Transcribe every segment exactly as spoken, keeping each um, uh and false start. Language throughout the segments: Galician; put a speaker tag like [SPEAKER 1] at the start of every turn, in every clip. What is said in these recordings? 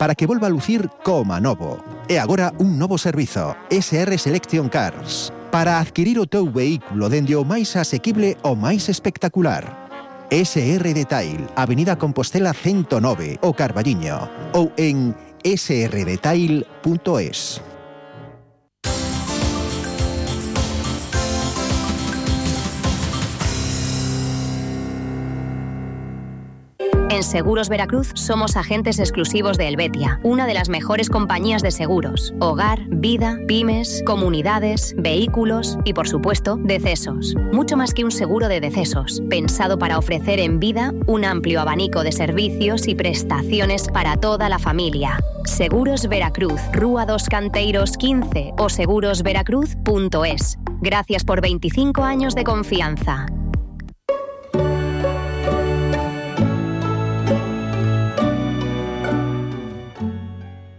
[SPEAKER 1] para que volva a lucir coma novo. E agora un novo servizo, S R Selection Cars, para adquirir o teu vehículo dende o máis asequible ao máis espectacular. S R Detail, Avenida Compostela ciento nove, o Carballiño, ou en s r detail punto es.
[SPEAKER 2] En Seguros Veracruz somos agentes exclusivos de Helvetia, una de las mejores compañías de seguros. Hogar, vida, pymes, comunidades, vehículos y, por supuesto, decesos. Mucho más que un seguro de decesos, pensado para ofrecer en vida un amplio abanico de servicios y prestaciones para toda la familia. Seguros Veracruz, Rúa dos Canteiros quince o seguros veracruz punto es. Gracias por veinticinco años de confianza.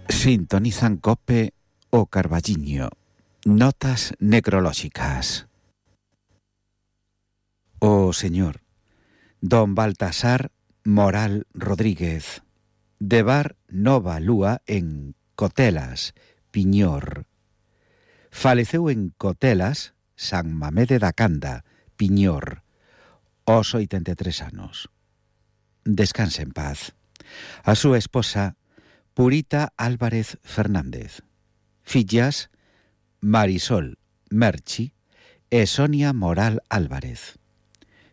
[SPEAKER 3] Sintonizan COPE o Carballiño. Notas necrolóxicas. O señor Don Baltasar Moral Rodríguez, de Bar Nova Lúa en Cotelas, Piñor. Faleceu en Cotelas, San Mamede da Canda, Piñor, aos oitenta e tres anos. Descanse en paz. A súa esposa Purita Álvarez Fernández. Fillas Marisol Merchi e Sonia Moral Álvarez.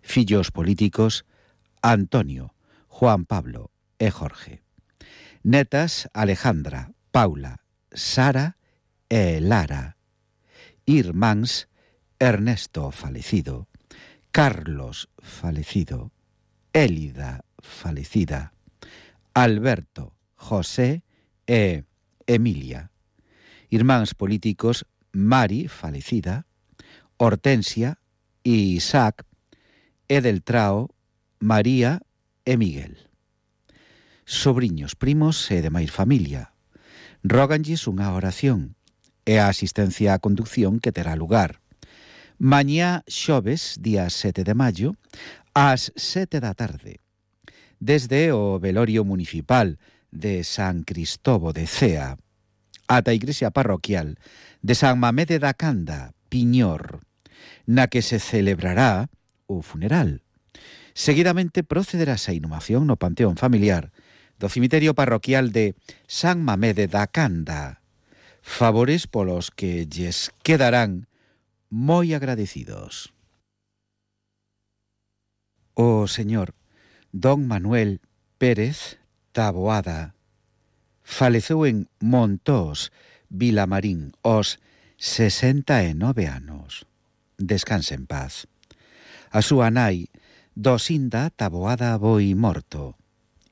[SPEAKER 3] Fillos políticos Antonio, Juan Pablo e Jorge. Netas Alejandra, Paula, Sara e Lara. Irmáns Ernesto falecido, Carlos falecido, Élida falecida, Alberto, José e Emilia. Irmáns políticos Mari, falecida, Hortensia e Isaac, Edeltrao, María e Miguel. Sobriños, primos e demais familia. Róganlles unha oración e a asistencia á conducción que terá lugar. Mañá xoves, día sete de maio, ás sete da tarde. Desde o velorio municipal de San Cristobo de Cea ata a igrexa parroquial de San Mamede da Canda, Piñor, na que se celebrará o funeral. Seguidamente procederase a inhumación no panteón familiar do cemiterio parroquial de San Mamede da Canda, favores polos que lles quedarán moi agradecidos. O señor Don Manuel Pérez Taboada faleceu en Montós, Vilamarín, aos sesenta e nove anos. Descanse en paz. A súa nai, Dosinda Taboada Boi Morto.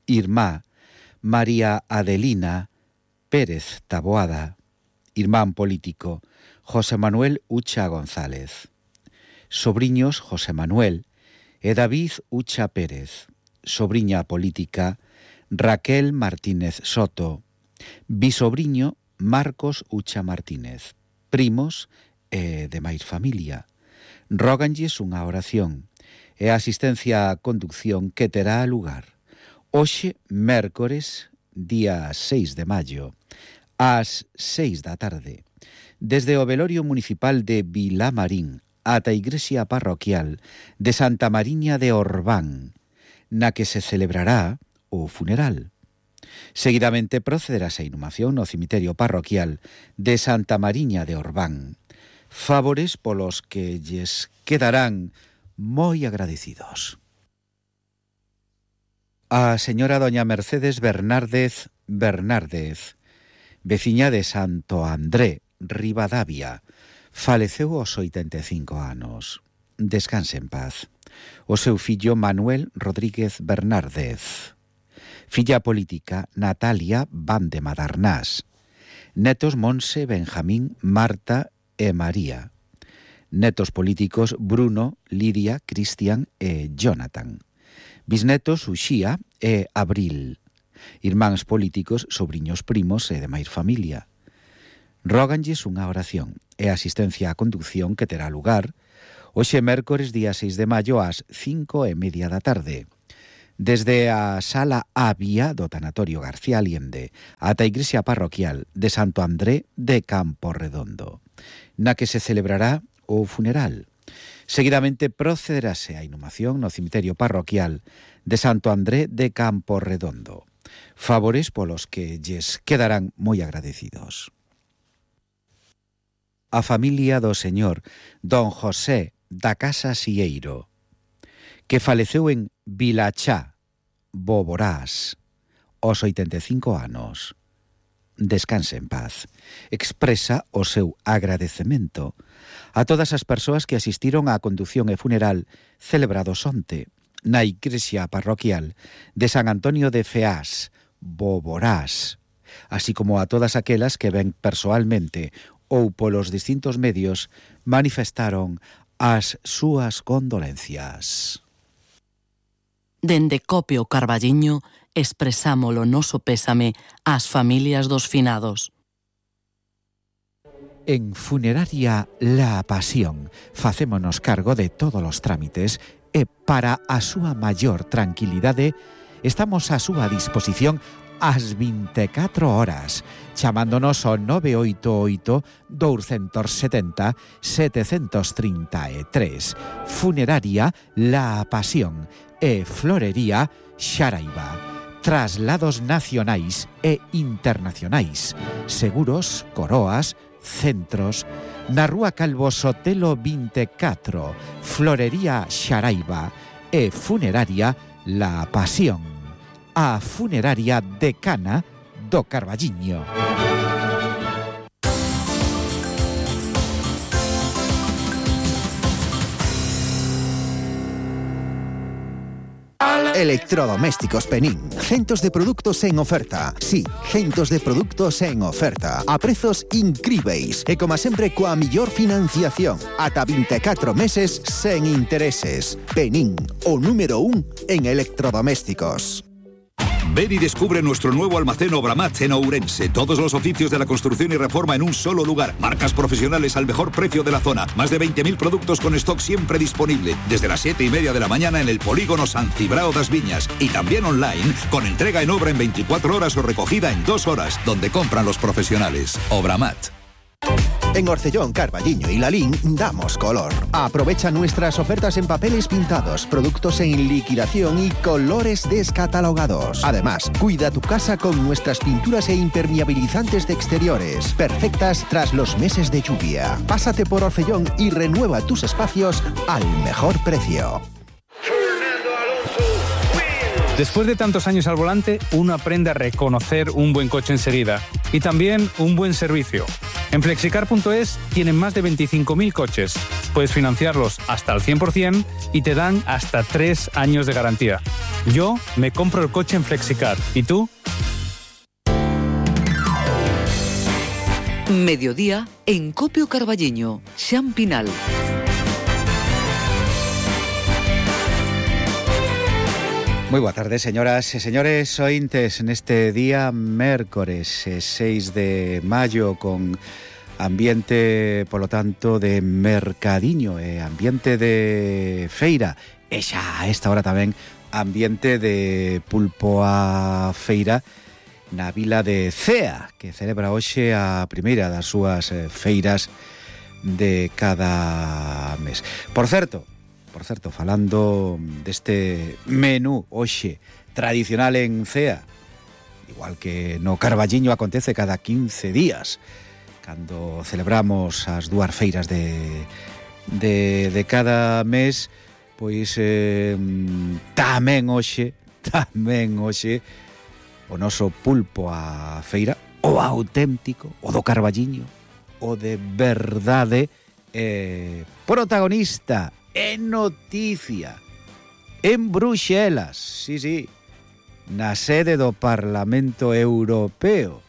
[SPEAKER 3] Irmá, María Adelina Pérez Taboada. Irmán político, José Manuel Ucha González. Sobriños, José Manuel e David Ucha Pérez. Sobriña política, Raquel Martínez Soto. Bisobriño, Marcos Ucha Martínez. Primos e demais familia. Róganlles unha oración e a asistencia á conducción que terá lugar hoxe, mércores, día seis de maio, ás seis da tarde, desde o velorio municipal de Vilamarín ata a igrexa parroquial de Santa Mariña de Orbán, na que se celebrará o funeral. Seguidamente procederase a inhumación no cemiterio parroquial de Santa Mariña de Orbán, favores polos que lles quedarán moi agradecidos. A señora doña Mercedes Bernárdez Bernárdez, veciña de Santo André, Ribadavia, faleceu aos oitenta e cinco anos. Descanse en paz. O seu fillo Manuel Rodríguez Bernárdez. Filla política Natalia Van de Madarnás. Netos Monse, Benjamín, Marta e María. Netos políticos Bruno, Lidia, Cristian e Jonathan. Bisnetos Uxía e Abril. Irmáns políticos, sobriños primos e demais familia. Róganlles unha oración e asistencia á conducción que terá lugar hoxe mércores día seis de maio ás cinco e media da tarde, Desde a Sala Avia do Tanatorio García Allende ata a Igrexa Parroquial de Santo André de Camporredondo, na que se celebrará o funeral. Seguidamente procederase a inhumación no cemiterio parroquial de Santo André de Camporredondo. Favores polos que lles quedarán moi agradecidos. A familia do señor don José da Casa Sieiro, que faleceu en Vilachá, Boborás, aos oitenta e cinco anos. Descanse en paz. Expresa o seu agradecemento a todas as persoas que asistiron á condución e funeral celebrados onte na igrexa parroquial de San Antonio de Feás, Boborás, así como a todas aquelas que ben persoalmente ou polos distintos medios manifestaron as súas condolencias.
[SPEAKER 4] Dende Copio Carballiño expresamos o noso pésame ás familias dos finados.
[SPEAKER 3] En Funeraria La Pasión facémonos cargo de todos os trámites e para a súa maior tranquilidade estamos á súa disposición ás vinte e catro horas, chamándonos ao nove oito oito, dous sete zero, sete tres tres. Funeraria La Pasión e Florería Xaraiba. Traslados nacionais e internacionais, seguros, coroas, centros, na Rúa Calvo Sotelo vinte e catro, Florería Xaraiba e Funeraria La Pasión, a funeraria decana do Carballiño.
[SPEAKER 1] Electrodomésticos Penín. Centos de produtos en oferta. Sí, centos de produtos en oferta. A prezos incríveis. E como sempre coa millor financiación. Ata vinte e catro meses sen intereses. Penín, o número un en electrodomésticos.
[SPEAKER 5] Ven y descubre nuestro nuevo almacén Obramat en Ourense. Todos los oficios de la construcción y reforma en un solo lugar. Marcas profesionales al mejor precio de la zona. Más de veinte mil productos con stock siempre disponible. Desde las siete y media de la mañana en el polígono San Cibrao das Viñas. Y también online, con entrega en obra en veinticuatro horas o recogida en dos horas, donde compran los profesionales. Obramat.
[SPEAKER 1] En Orcellón, Carballiño y Lalín damos color. Aprovecha nuestras ofertas en papeles pintados, productos en liquidación y colores descatalogados. Además, cuida tu casa con nuestras pinturas e impermeabilizantes de exteriores, perfectas tras los meses de lluvia. Pásate por Orcellón y renueva tus espacios al mejor precio.
[SPEAKER 6] Después de tantos años al volante, uno aprende a reconocer un buen coche enseguida y también un buen servicio. En flexicar punto es tienen más de veinticinco mil coches. Puedes financiarlos hasta el cien por ciento y te dan hasta tres años de garantía. Yo me compro el coche en Flexicar. ¿Y tú?
[SPEAKER 7] Mediodía en Copio Carballiño, Xan Pinal.
[SPEAKER 3] Moi boa tarde, señoras e señores ointes, neste día mércores seis de maio, con ambiente, polo tanto, de mercadiño e ambiente de feira, e xa a esta hora tamén ambiente de pulpo a feira na vila de Cea, que celebra hoxe a primeira das súas feiras de cada mes. Por certo, Por certo, falando deste menú hoxe tradicional en Cea, igual que no Carballiño acontece cada quince días, cando celebramos as dúas feiras de, de, de cada mes, pois eh, tamén hoxe, tamén hoxe, o noso pulpo a feira, o auténtico, o do Carballiño, o de verdade, eh, protagonista e noticia en Bruxelas, sí, sí, na sede do Parlamento Europeo.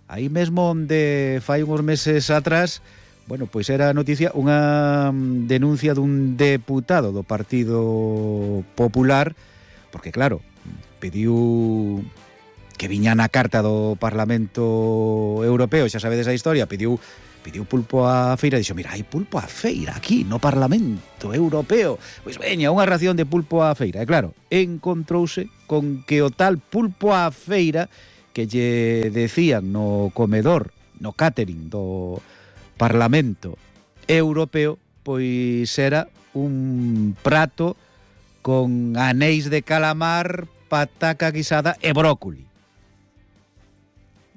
[SPEAKER 3] Aí mesmo onde fai uns meses atrás, bueno, pois era noticia unha denuncia dun deputado do Partido Popular, porque claro, pediu que viña na carta do Parlamento Europeo, xa sabedes a historia, pediu pidiu pulpo á feira, dixo, mira, hai pulpo á feira aquí no Parlamento Europeo, pois veña, unha ración de pulpo á feira. E claro, encontrouse con que o tal pulpo á feira que lle decían no comedor, no catering do Parlamento Europeo, pois era un prato con anéis de calamar, pataca guisada e brócoli.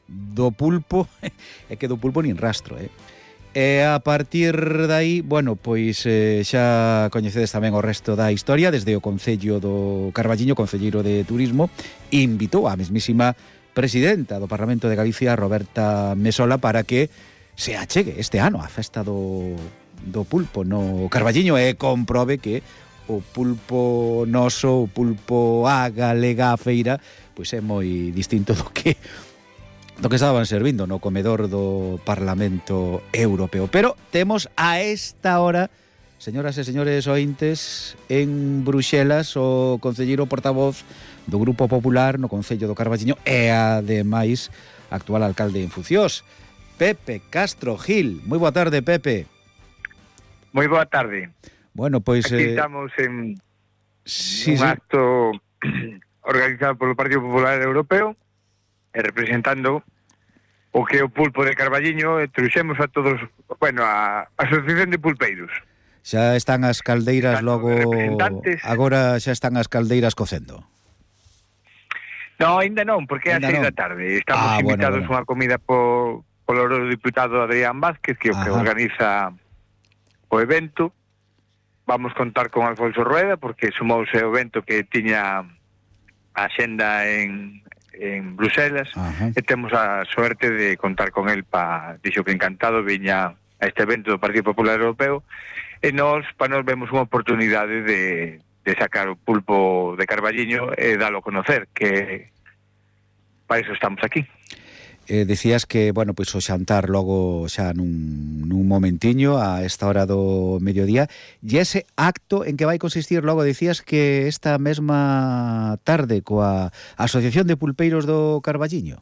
[SPEAKER 3] Do pulpo, é que do pulpo nin rastro, eh? E a partir dai, bueno, pois eh, xa coñecedes tamén o resto da historia, desde o Concello do Carballiño, concelleiro de Turismo, invitou a mesmísima presidenta do Parlamento de Galicia, Roberta Mesola, para que se achegue este ano a festa do, do pulpo no Carballiño e comprobe que o pulpo noso, o pulpo a galega a feira, pois é moi distinto do que do que estaban servindo no comedor do Parlamento Europeo. Pero temos a esta hora, señoras e señores ointes, en Bruxelas o concelleiro portavoz do Grupo Popular no Concello do Carballiño e ademais actual alcalde en Fuciós, Pepe Castro Gil. Moi boa tarde, Pepe.
[SPEAKER 8] Moi boa tarde.
[SPEAKER 3] Bueno, pois
[SPEAKER 8] aquí
[SPEAKER 3] eh...
[SPEAKER 8] estamos en
[SPEAKER 3] sí,
[SPEAKER 8] un
[SPEAKER 3] sí.
[SPEAKER 8] acto organizado polo Partido Popular Europeo e representando o que é o pulpo de Carballiño, e trouxemos a todos, bueno, a Asociación de Pulpeiros.
[SPEAKER 3] Xa están as caldeiras
[SPEAKER 8] están
[SPEAKER 3] logo, agora xa están as caldeiras cocendo.
[SPEAKER 8] No, ainda non, porque é a seis da tarde. Estamos
[SPEAKER 3] ah,
[SPEAKER 8] invitados
[SPEAKER 3] bueno, bueno.
[SPEAKER 8] a unha comida por, polo diputado Adrián Vázquez, que é o que organiza o evento. Vamos contar con Alfonso Rueda, porque sumouse o evento que tiña a xenda en... en Bruxelas. Ajá. E temos a suerte de contar con el pa, dixo que encantado viña a este evento do Partido Popular Europeo, e nós, pa nos vemos unha oportunidade de, de sacar o pulpo de Carballiño e dalo a conocer, que para iso estamos aquí.
[SPEAKER 3] Eh, decías que, bueno, pois o xantar logo xa nun, nun momentiño a esta hora do mediodía, e ese acto en que vai consistir logo, decías que esta mesma tarde coa Asociación de Pulpeiros do Carballiño.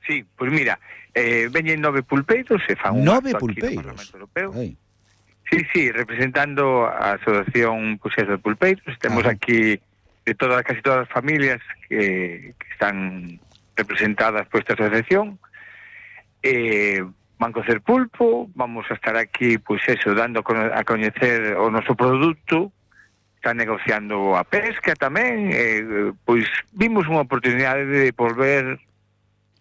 [SPEAKER 8] Sí, pois mira, eh, veñen nove pulpeiros e fan un
[SPEAKER 3] nove
[SPEAKER 8] acto
[SPEAKER 3] pulpeiros.
[SPEAKER 8] Aquí no Parlamento Europeo.
[SPEAKER 3] Ai.
[SPEAKER 8] Sí, sí, representando a Asociación Puxés de Pulpeiros. Temos Ajá. aquí de todas, casi todas as familias que, que están representadas por esta asociación. Eh, van cocer pulpo, vamos a estar aquí, pois eso, dando a coñecer o noso produto, están negociando a pesca tamén, eh, pois vimos unha oportunidade de volver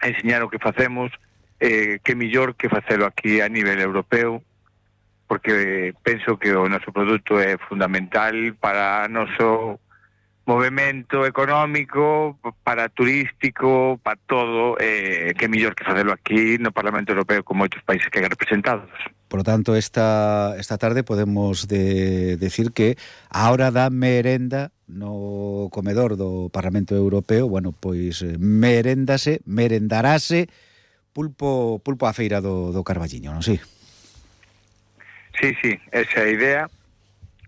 [SPEAKER 8] a enseñar o que facemos, eh, que millor que facelo aquí a nivel europeo, porque penso que o noso produto é fundamental para o noso movimento económico, para turístico, para todo, eh, que mellor que facelo aquí no Parlamento Europeo con moitos países que hai representados.
[SPEAKER 3] Por lo tanto, esta, esta tarde podemos de, decir que a hora da merenda no comedor do Parlamento Europeo, bueno, pois merendase, merendarase pulpo, pulpo a feira do, do Carballiño, non si?
[SPEAKER 8] Sí, sí, esa é a idea.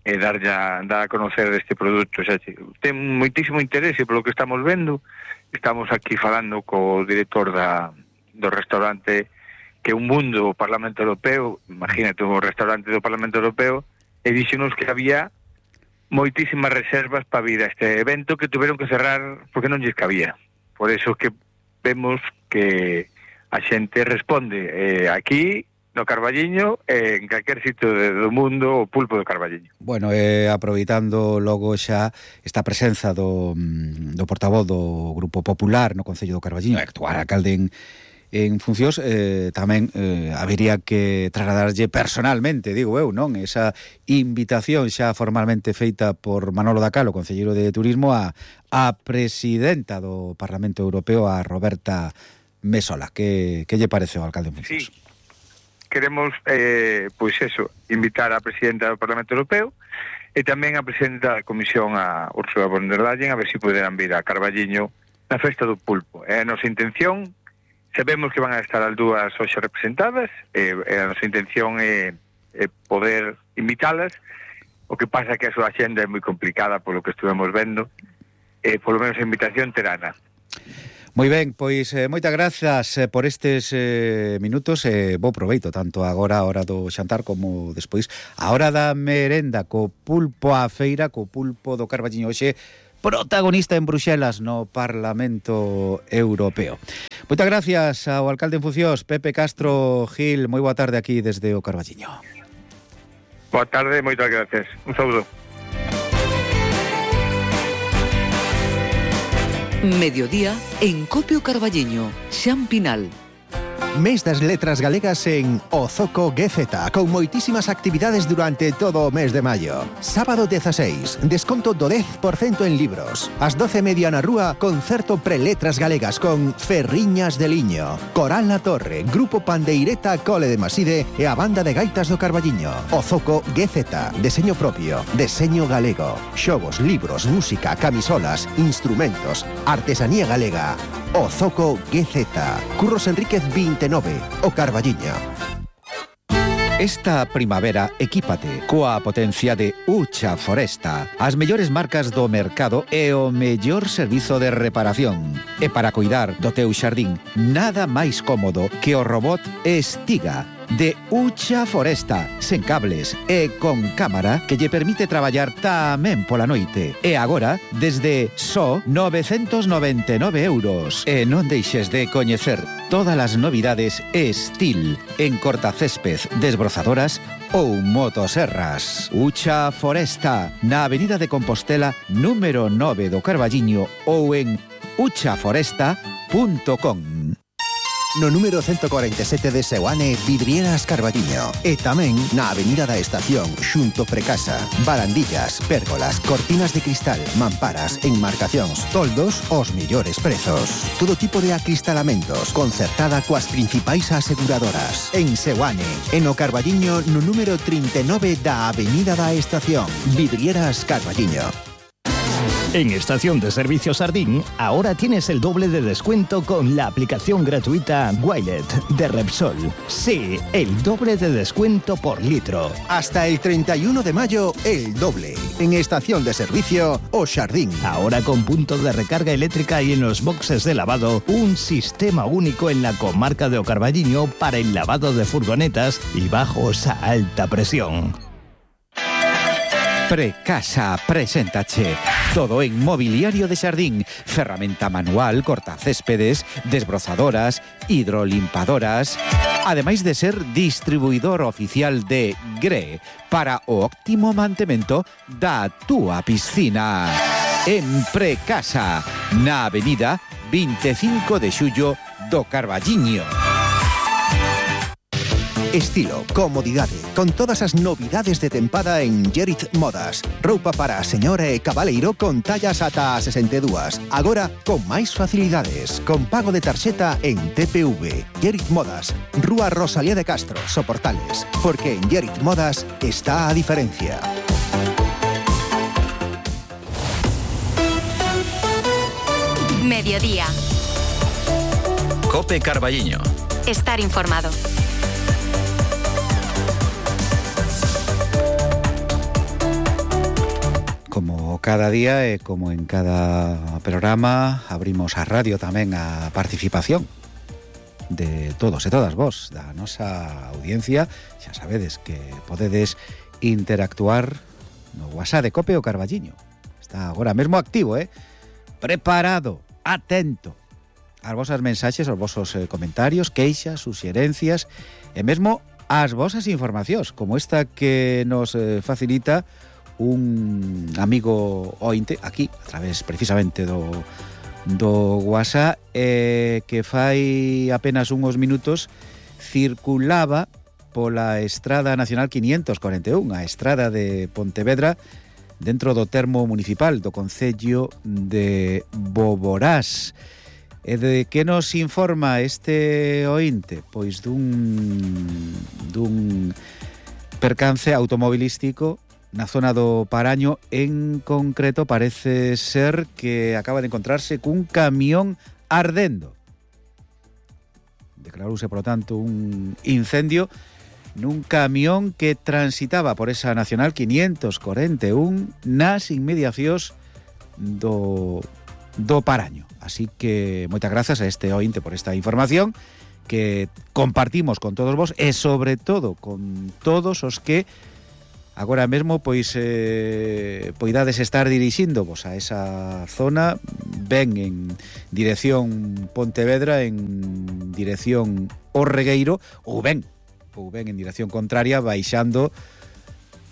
[SPEAKER 8] E dar a, dar a conocer deste produto. Xa, ten moitísimo interese polo que estamos vendo. Estamos aquí falando co director da, do restaurante, que é un mundo o Parlamento Europeo, imagínate o restaurante do Parlamento Europeo, e díxenos que había moitísimas reservas para vir a este evento que tuveron que cerrar porque non lles cabía. Por eso que vemos que a xente responde eh, aquí no Carballiño, eh, en calquer sitio do mundo, o pulpo do Carballiño.
[SPEAKER 3] Bueno, eh, aproveitando logo xa esta presenza do, do portavoz do Grupo Popular no Concello do Carballiño, actual alcalde en, en funcións, eh, tamén eh, habería que trasladarlle personalmente, digo eu, non? Esa invitación xa formalmente feita por Manolo Dacal, o concelleiro de Turismo, a, a presidenta do Parlamento Europeo, a Roberta Mesola. Que, que lle parece o alcalde en funcións?
[SPEAKER 8] Sí. Queremos, eh, pois eso, invitar a presidenta do Parlamento Europeo e tamén a presidenta da Comisión, a Ursula von der Leyen, a ver se si poderán vir a Carballiño na festa do pulpo. É a nosa intención, sabemos que van a estar as dúas hoxe representadas, e, e a nosa intención é, é poder invitalas. O que pasa é que a súa axenda é moi complicada polo que estuvemos vendo, e polo menos a invitación terana.
[SPEAKER 3] Moi ben, pois eh, moitas grazas eh, por estes eh, minutos e eh, bo proveito tanto agora a hora do xantar como despois a hora da merenda co pulpo á feira, co pulpo do Carballiño hoxe protagonista en Bruxelas no Parlamento Europeo. Moitas gracias ao alcalde en funcións, Pepe Castro Gil, moi boa tarde aquí desde o Carballiño.
[SPEAKER 8] Boa tarde, moitas gracias. Un saúdo.
[SPEAKER 7] Mediodía en Copio Carballiño, Xan Pinal.
[SPEAKER 1] Mes das letras galegas en Ozoco G Z, con moitísimas actividades durante todo o mes de maio. Sábado dieciséis, desconto do dez por cento en libros. Ás doce e media na rúa, concerto pre-letras galegas con Ferriñas de Liño, Coral na Torre, Grupo Pandeireta Cole de Maside e a Banda de Gaitas do Carballiño. Ozoco G Z, deseño propio, deseño galego, xogos, libros, música, camisolas, instrumentos, artesanía galega. Ozoco G Z, Curros Enríquez veintinueve, o Carballiño. Esta primavera equípate coa potencia de Ucha Foresta, as mellores marcas do mercado e o mellor servizo de reparación. E para cuidar do teu xardín, nada máis cómodo que o robot Estiga de Ucha Foresta, sen cables e con cámara que lle permite traballar tamén pola noite. E agora, desde só novecentos noventa e nove euros. E non deixes de coñecer todas as novidades Estil en cortacésped, desbrozadoras ou motoserras. Ucha Foresta, na Avenida de Compostela, número nove do Carballiño ou en ucha foresta punto com. No número ciento cuarenta e sete de Seoane, Vidrieras Carballiño. E tamén na Avenida da Estación, xunto Precasa. Barandillas, pérgolas, cortinas de cristal, mamparas, enmarcacións, toldos, os millores prezos. Todo tipo de acristalamentos, concertada coas principais aseguradoras. En Seoane, en o Carballiño, no número trinta e nove da Avenida da Estación. Vidrieras Carballiño.
[SPEAKER 9] En Estación de Servicio Sardín, ahora tienes el doble de descuento con la aplicación gratuita Wilet de Repsol. Sí, el doble de descuento por litro.
[SPEAKER 1] Hasta el treinta y uno de mayo, el doble. En Estación de Servicio O Sardín.
[SPEAKER 9] Ahora con punto de recarga eléctrica y en los boxes de lavado, un sistema único en la comarca de O Carballiño para el lavado de furgonetas y bajos a alta presión.
[SPEAKER 3] Precasa preséntache todo en mobiliario de xardín, ferramenta manual, cortacéspedes, desbrozadoras, hidrolimpadoras, ademais de ser distribuidor oficial de Gre para o óptimo mantemento da túa piscina. En Precasa, na Avenida veinticinco de xullo do Carballiño.
[SPEAKER 1] Estilo, comodidade, con todas as novidades de tempada en Gerit Modas. Roupa para a señora e cabaleiro con tallas ata a sesenta e dúas. Agora, con máis facilidades, con pago de tarxeta en T P V. Gerit Modas, Rúa Rosalía de Castro, Soportales. Porque en Gerit Modas está a diferencia.
[SPEAKER 2] Mediodía.
[SPEAKER 10] Cope Carballiño.
[SPEAKER 2] Estar informado.
[SPEAKER 3] Como cada día e como en cada programa, abrimos a radio tamén a participación de todos e todas vos, da nosa audiencia. Xa sabedes que podedes interactuar no WhatsApp de Cope o Carballiño. Está agora mesmo activo, eh? Preparado, atento ás vosas mensaxes, aos vosos eh, comentarios, queixas, suxerencias e mesmo ás vosas informacións, como esta que nos eh, facilita un amigo ointe aquí, a través precisamente do, do WhatsApp, eh, que fai apenas uns minutos circulaba pola Estrada Nacional quinientos cuarenta e un, a Estrada de Pontevedra, dentro do termo municipal do concello de Boborás. E de que nos informa este ointe? Pois dun, dun percance automobilístico na zona do Paraño. En concreto parece ser que acaba de encontrarse cun camión ardendo. Declarouse, por lo tanto, un incendio nun camión que transitaba por esa Nacional quinientos cuarenta e un nas inmediacións do do Paraño. Así que moitas grazas a este ointe por esta información que compartimos con todos vos e sobre todo con todos os que agora mesmo pois eh, poidades estar dirixíndovos a esa zona, ben en dirección Pontevedra, en dirección O Regueiro, ou ben ou ben en dirección contraria, baixando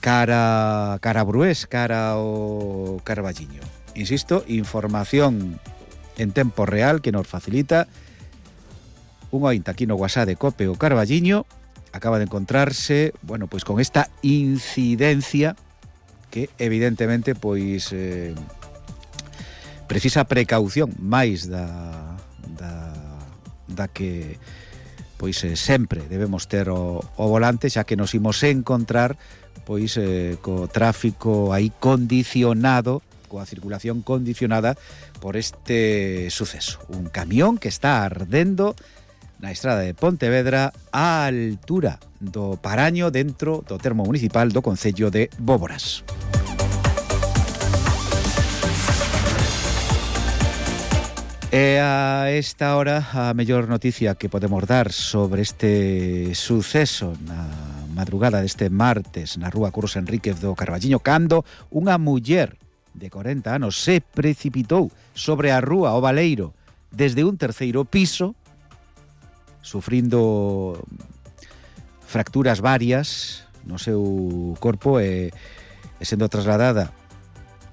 [SPEAKER 3] cara cara a Brués, cara ao Carballiño. Insisto, información en tempo real que nos facilita un ointe aquí no WhatsApp de Cope o Carballiño. Acaba de encontrarse, bueno, pois con esta incidencia que evidentemente pois eh, precisa precaución máis da da, da que pois eh, sempre debemos ter o, o volante, xa que nos imos encontrar pois eh, co tráfico aí condicionado, coa circulación condicionada por este suceso. Un camión que está ardendo na estrada de Pontevedra á altura do Paraño dentro do termo municipal do concello de Bóboras. E a esta hora a mellor noticia que podemos dar sobre este suceso na madrugada deste martes na rúa Curros Enríquez do Carballiño, cando unha muller de corenta anos se precipitou sobre a rúa O Baleiro desde un terceiro piso, sufrindo fracturas varias no seu corpo e, e sendo trasladada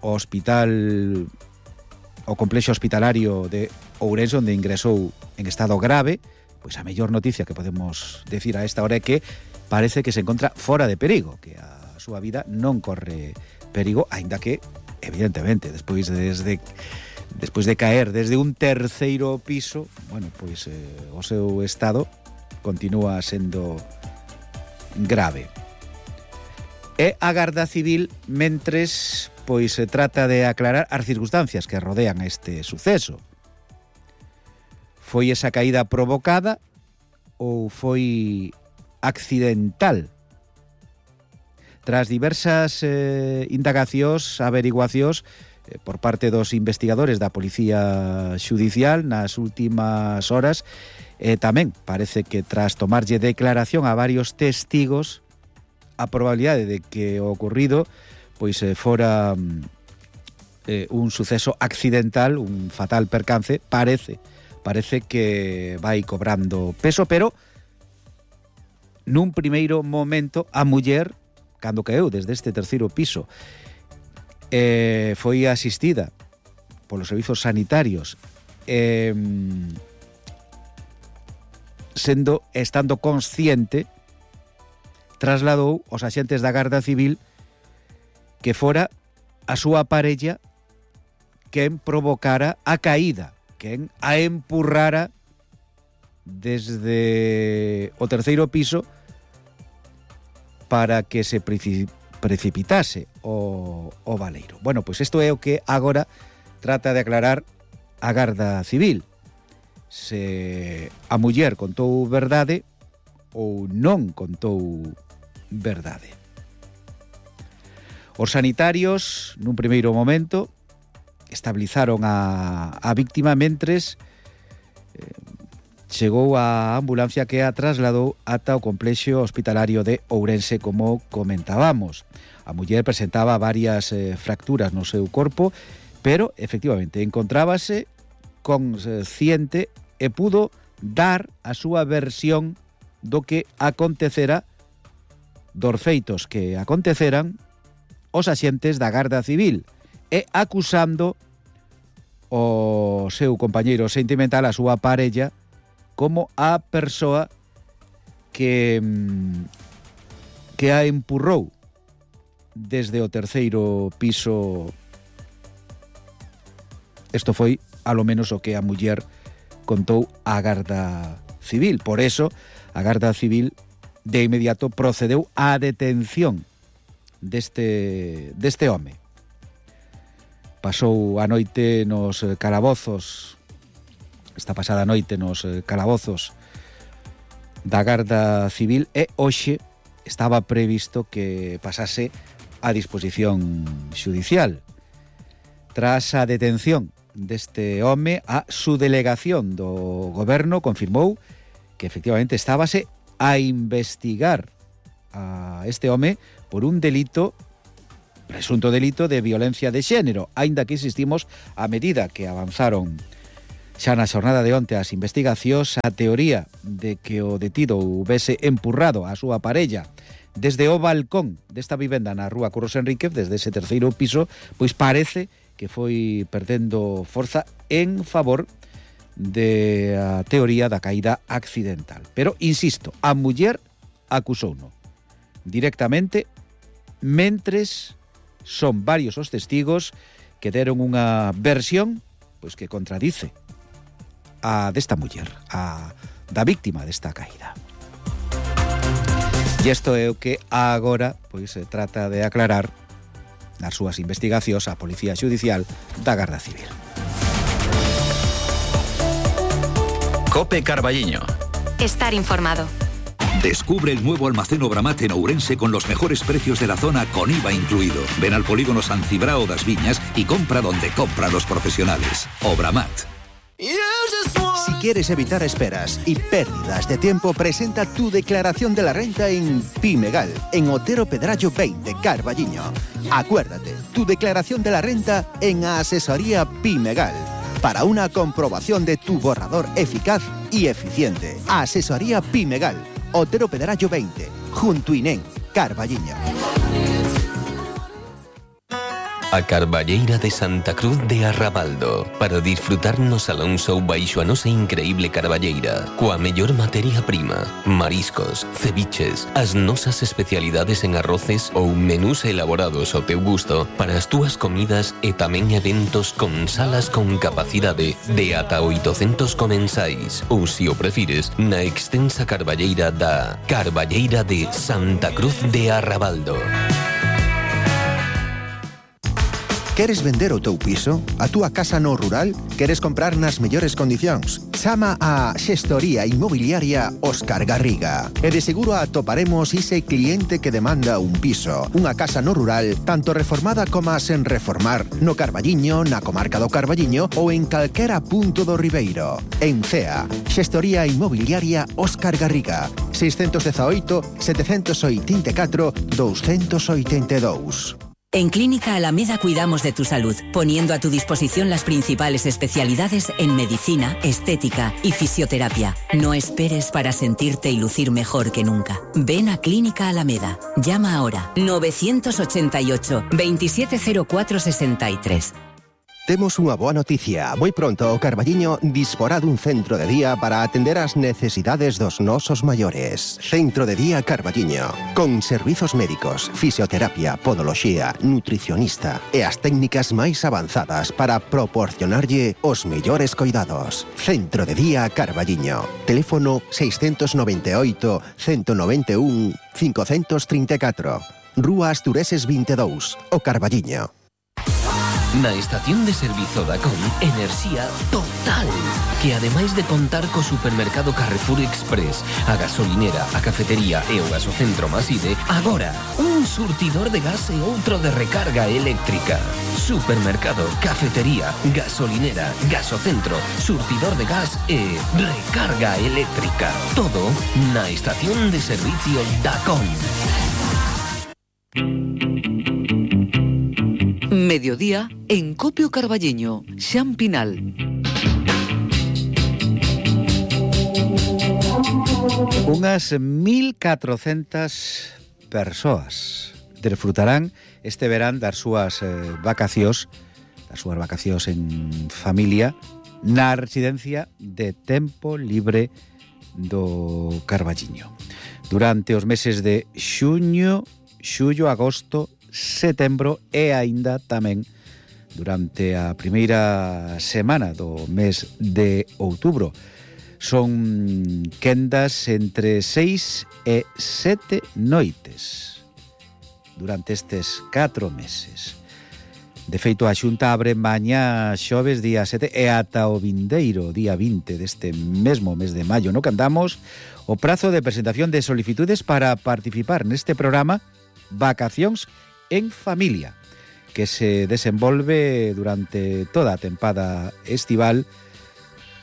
[SPEAKER 3] ao hospital, ao complexo hospitalario de Ourense, onde ingresou en estado grave. Pois a mellor noticia que podemos decir a esta hora é que parece que se encontra fora de perigo, que a súa vida non corre perigo, aínda que evidentemente, despois de, desde, despois de caer desde un terceiro piso, bueno, pois eh, o seu estado continúa sendo grave. E a Garda Civil, mentres, pois se trata de aclarar as circunstancias que rodean este suceso. Foi esa caída provocada ou foi accidental? Tras diversas eh, indagacións, averiguacións eh, por parte dos investigadores da Policía Xudicial nas últimas horas, eh, tamén parece que tras tomarlle declaración a varios testigos, a probabilidade de que o ocurrido pois eh, fora eh, un suceso accidental, un fatal percance, parece, parece que vai cobrando peso, pero nun primeiro momento a muller, cando caeu desde este terceiro piso, eh, foi asistida polos servizos sanitarios, eh, sendo, estando consciente, trasladou aos axentes da Garda Civil que fora a súa parella quen provocara a caída, quen a empurrara desde o terceiro piso para que se precipitase o, o baleiro. Bueno, pois isto é o que agora trata de aclarar a Garda Civil. Se a muller contou verdade ou non contou verdade. Os sanitarios, nun primeiro momento, estabilizaron a, a víctima mentres eh, chegou a ambulancia que a trasladou ata o complexo hospitalario de Ourense, como comentábamos. A muller presentaba varias eh, fracturas no seu corpo, pero efectivamente encontrábase consciente e pudo dar a súa versión do que acontecera, dos feitos que aconteceran os axentes da Garda Civil, e acusando o seu compañeiro sentimental, a súa parella, como a persoa que que a empurrou desde o terceiro piso. Isto foi, alo menos, o que a muller contou a Garda Civil. Por eso, a Garda Civil de inmediato procedeu á detención deste, deste home. Pasou a noite nos calabozos, esta pasada noite nos calabozos da Garda Civil, e hoxe estaba previsto que pasase a disposición xudicial. Tras a detención deste home, a subdelegación do goberno confirmou que efectivamente estábase a investigar a este home por un delito, presunto delito de violencia de xénero, aínda que insistimos, a medida que avanzaron xa na xornada de onte as investigacións, a teoría de que o detido houvese empurrado a súa parella desde o balcón desta vivenda na rúa Curros Enríquez, desde ese terceiro piso, pois parece que foi perdendo forza en favor de a teoría da caída accidental. Pero, insisto, a muller acusouno directamente, mentres son varios os testigos que deron unha versión pois que contradice a desta muller, a da víctima desta caída. E isto é o que agora pois se trata de aclarar nas súas investigacións a Policía Xudicial da Garda Civil.
[SPEAKER 10] Cope Carballiño.
[SPEAKER 2] Estar informado.
[SPEAKER 5] Descubre el nuevo almacén Obramat en Ourense con los mejores precios de la zona con I V A incluido. Ven al polígono San Cibrao das Viñas y compra donde compran los profesionales. Obramat.
[SPEAKER 1] Si quieres evitar esperas y pérdidas de tiempo, presenta tu declaración de la renta en Pimegal, en Otero Pedrallo veinte, Carballiño. Acuérdate, tu declaración de la renta en Asesoría Pimegal, para una comprobación de tu borrador eficaz y eficiente. Asesoría Pimegal, Otero Pedrallo veinte, junto Inén, Carballiño.
[SPEAKER 11] A Carballeira de Santa Cruz de Arrabaldo, para disfrutar no Salón Show baixo a nosa increíble carballeira, coa mellor materia prima, mariscos, ceviches, as nosas especialidades en arroces ou menús elaborados ao teu gusto para as túas comidas e tamén eventos con salas con capacidade de ata oitocentos comensais, ou se o prefires, na extensa carballeira da Carballeira de Santa Cruz de Arrabaldo.
[SPEAKER 1] Queres vender o teu piso? A túa casa no rural? Queres comprar nas mellores condicións? Chama a Xestoría Inmobiliaria Óscar Garriga. E de seguro atoparemos ese cliente que demanda un piso, unha casa no rural, tanto reformada como sen reformar, no Carballiño, na comarca do Carballiño ou en calquera punto do Ribeiro. En Cea, Xestoría Inmobiliaria Óscar Garriga, seiscentos dezaoito, setecentos oitenta e catro, douscentos oitenta e dous.
[SPEAKER 12] En Clínica Alameda cuidamos de tu salud, poniendo a tu disposición las principales especialidades en medicina, estética y fisioterapia. No esperes para sentirte y lucir mejor que nunca. Ven a Clínica Alameda. Llama ahora novecientos ochenta y ocho, veintisiete cero cuatro sesenta y tres.
[SPEAKER 1] Temos unha boa noticia. Moi pronto o Carballiño disporá dun centro de día para atender as necesidades dos nosos maiores. Centro de Día Carballiño, con servizos médicos, fisioterapia, podoloxía, nutricionista e as técnicas máis avanzadas para proporcionarlle os mellores coidados. Centro de Día Carballiño. Teléfono seiscentos noventa e oito, ciento noventa e un, quinhentos trinta e catro. Rúa Astureses vinte e dous, o Carballiño.
[SPEAKER 11] Na estación de servizo da C O M, enerxía total, que ademais de contar co supermercado Carrefour Express, a gasolinera, a cafetería e o gasocentro Maside, agora un surtidor de gas e outro de recarga eléctrica. Supermercado, cafetería, gasolinera, gasocentro, surtidor de gas e recarga eléctrica. Todo na estación de servicio da C O M.
[SPEAKER 7] Mediodía en Copio Carballiño, Xan Pinal.
[SPEAKER 3] Unhas mil catrocentas persoas disfrutarán este verán das súas eh, vacacións, das súas vacacións en familia na residencia de tempo libre do Carballiño. Durante os meses de xuño, xullo, agosto, setembro e aínda tamén durante a primeira semana do mes de outubro. Son quendas entre seis e sete noites durante estes catro meses. De feito, a Xunta abre mañá xoves día sete e ata o vindeiro día vinte deste mesmo mes de maio no que andamos o prazo de presentación de solicitudes para participar neste programa Vacacións en Familia, que se desenvolve durante toda a tempada estival,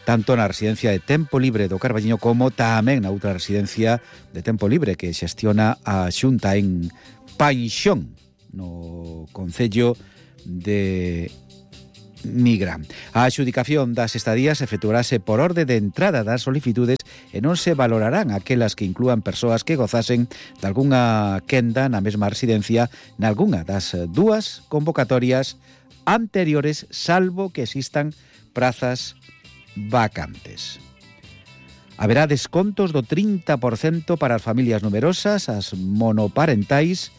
[SPEAKER 3] tanto na residencia de Tempo Libre do Carballiño como tamén na outra residencia de Tempo Libre que xestiona a Xunta en Paixón, no concello de Migra. A adxudicación das estadías efectuarase por orde de entrada das solicitudes e non se valorarán aquelas que inclúan persoas que gozasen de algunha quenda na mesma residencia nalgunha das dúas convocatorias anteriores, salvo que existan prazas vacantes. Haberá descontos do trinta por cento para as familias numerosas, as monoparentais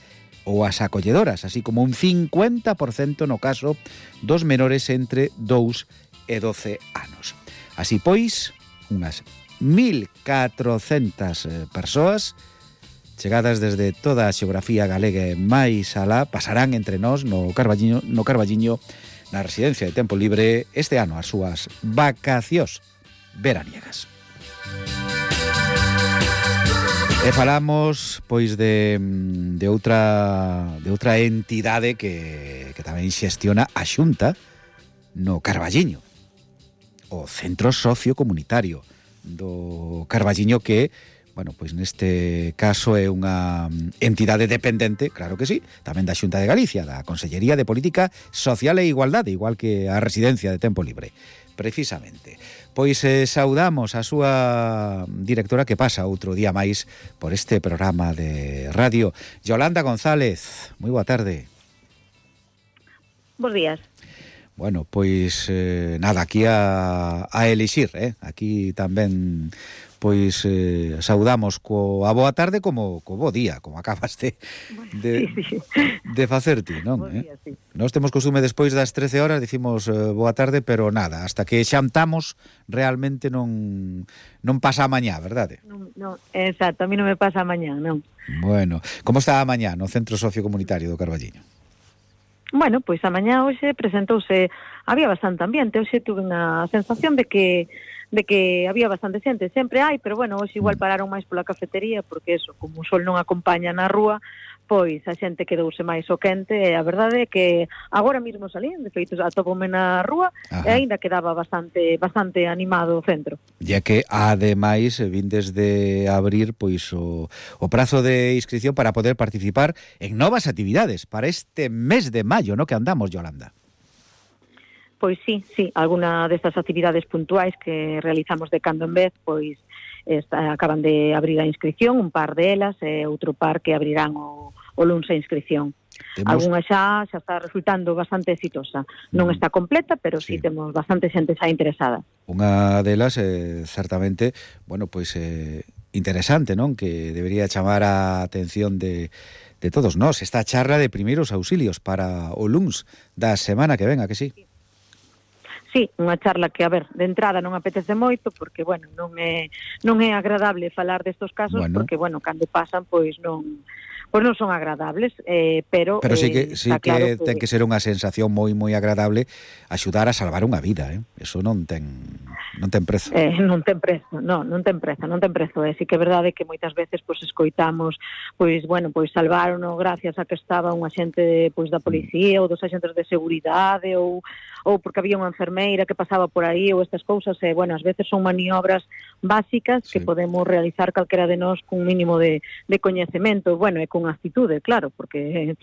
[SPEAKER 3] ou as acolledoras, así como un cincuenta por cento no caso dos menores entre dous e doce anos. Así pois, unhas mil catrocentas persoas chegadas desde toda a xeografía galega e máis alá pasarán entre nós no Carballiño, no Carballiño na residencia de Tempo Libre este ano as súas vacacións veraniegas. E falamos pois de, de outra de outra entidade que, que tamén xestiona a Xunta no Carballiño, o Centro Sociocomunitario do Carballiño, que, bueno, pois neste caso é unha entidade dependente, claro que sí, tamén da Xunta de Galicia, da Consellería de Política Social e Igualdade, igual que a residencia de Tempo Libre. Precisamente. Pois eh, saudamos a súa directora que pasa outro día máis por este programa de radio, Yolanda González. Moi boa tarde.
[SPEAKER 13] Bos días.
[SPEAKER 3] Bueno, pois eh, nada, aquí a, a elixir, eh? Aquí tamén pois eh, saudamos co a boa tarde como co bo día, como acabas de de, sí, sí. de facer ti, non? Eh? Día, sí. Nós temos costume despois das trece horas dicimos eh, boa tarde, pero nada, hasta que xantamos realmente non non pasa a mañá, verdade?
[SPEAKER 13] Non, non, exacto, a mí non me pasa a mañá, non.
[SPEAKER 3] Bueno, como está a mañá no Centro Sociocomunitario do Carballiño?
[SPEAKER 13] Bueno, pois a mañá hoxe presentouse, había bastante ambiente, hoxe tuve unha sensación de que de que había bastante xente, sempre hai, pero bueno, hoxe igual pararon máis pola cafetería, porque eso, como o sol non acompaña na rúa, pois a xente quedouse máis o quente, e a verdade é que agora mesmo salín, de feito, atópome na rúa, Ajá. e aínda quedaba bastante bastante animado o centro.
[SPEAKER 3] Ya que, ademais, vindes de abrir pois o, o prazo de inscripción para poder participar en novas actividades para este mes de maio, no que andamos, Yolanda.
[SPEAKER 13] Pois sí, sí, alguna destas actividades puntuais que realizamos de cando en vez, pois está, acaban de abrir a inscripción, un par delas, e outro par que abrirán o, o luns a inscripción. Temos... Alguna xa xa está resultando bastante exitosa. Non está completa, pero sí, sí temos bastante xente xa interesada.
[SPEAKER 3] Unha delas, eh, certamente, bueno, pois eh, interesante, non? Que debería chamar a atención de, de todos nós. Esta charla de primeiros auxilios para o luns da semana que venga, que sí? Sí.
[SPEAKER 13] Sí, unha charla que, a ver, de entrada non apetece moito, porque, bueno, non é non é agradable falar destos casos, bueno. porque, bueno, cando pasan, pois non pois non son agradables, eh, pero...
[SPEAKER 3] Pero sí que,
[SPEAKER 13] eh,
[SPEAKER 3] sí que, claro que ten que ser unha sensación moi, moi agradable axudar a salvar unha vida, eh? Eso non ten non ten prezo.
[SPEAKER 13] Eh, non ten prezo, non, non ten prezo, non ten prezo, eh? Sí que é verdade que moitas veces pois escoitamos, pois, bueno, pois salvaron gracias a que estaba un axente pois da policía mm. ou dos axentes de seguridade ou ou porque había unha enfermeira que pasaba por aí ou estas cousas, e, bueno, ás veces son maniobras básicas sí. que podemos realizar calquera de nós cun mínimo de, de coñecemento, bueno, e con actitude, claro, porque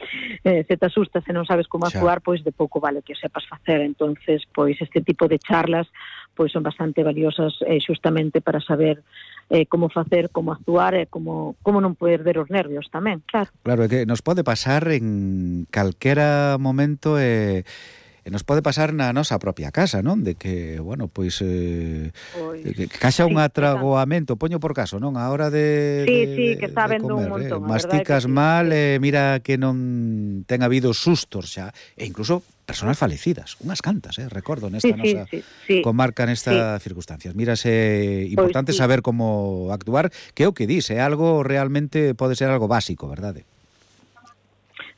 [SPEAKER 13] eh, se te asustas e non sabes como actuar, pois de pouco vale que o sepas facer. Entonces, pois este tipo de charlas pois son bastante valiosas eh, xustamente para saber eh, como facer, como actuar e como, como non perder os nervios tamén, claro.
[SPEAKER 3] Claro, é que nos pode pasar en calquera momento e... Eh... E nos pode pasar na nosa propia casa, non? De que, bueno, pois eh, pois, que caxa un sí, atragoamento, poño por caso, non? A hora de
[SPEAKER 13] Sí,
[SPEAKER 3] de,
[SPEAKER 13] sí, que está vendo un montón,
[SPEAKER 3] eh, masticas mal, sí. eh, mira que non ten habido sustos xa, e incluso persoas falecidas, unhas cantas, eh, recordo nesta
[SPEAKER 13] sí,
[SPEAKER 3] nosa
[SPEAKER 13] sí, sí,
[SPEAKER 3] comarca nestas sí. circunstancias. Mírase importante pois, sí. saber como actuar, que é o que dis, é algo realmente pode ser algo básico, verdade?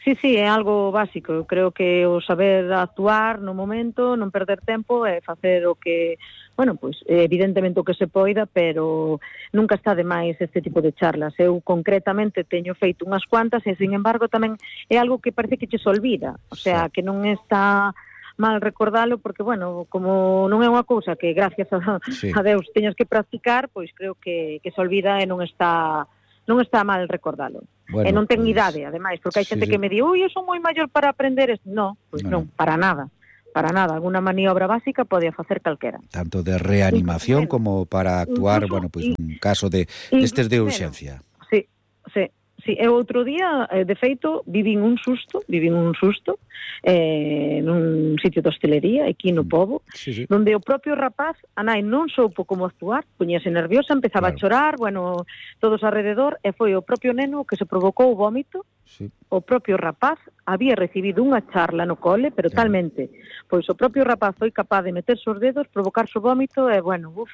[SPEAKER 13] Sí, sí, é algo básico. Eu creo que o saber actuar no momento, non perder tempo e facer o que, bueno, pois evidentemente o que se poida, pero nunca está de máis este tipo de charlas. Eu concretamente teño feito unhas cuantas e, sin embargo, tamén é algo que parece que che se olvida. O sea, sí. que non está mal recordalo, porque, bueno, como non é unha cousa que gracias a, sí. a Deus teñas que practicar, pois creo que, que se olvida e non está... non está mal recordalo. Bueno, e non ten pues, idade, ademais, porque hai xente sí, sí. que me di, ui, eu son moi maior para aprender isto. No, pois pues non, non, para nada. Para nada, alguna maniobra básica pode facer calquera.
[SPEAKER 3] Tanto de reanimación como para actuar, incluso, bueno, pois pues, un caso de destes de urxencia.
[SPEAKER 13] Sí, sí. Sí, e outro día, de feito, vivín un susto, vivín un susto eh, nun sitio de hostelería, aquí no Pobo, sí, sí. donde o propio rapaz, a nai non soupo como actuar, puñase nerviosa, empezaba claro. a chorar, bueno, todos alrededor, e foi o propio neno que se provocou o vómito, sí. o propio rapaz había recibido unha charla no cole, pero claro. talmente, pois o propio rapaz foi capaz de meterse os dedos, provocarse o vómito, e bueno, uff,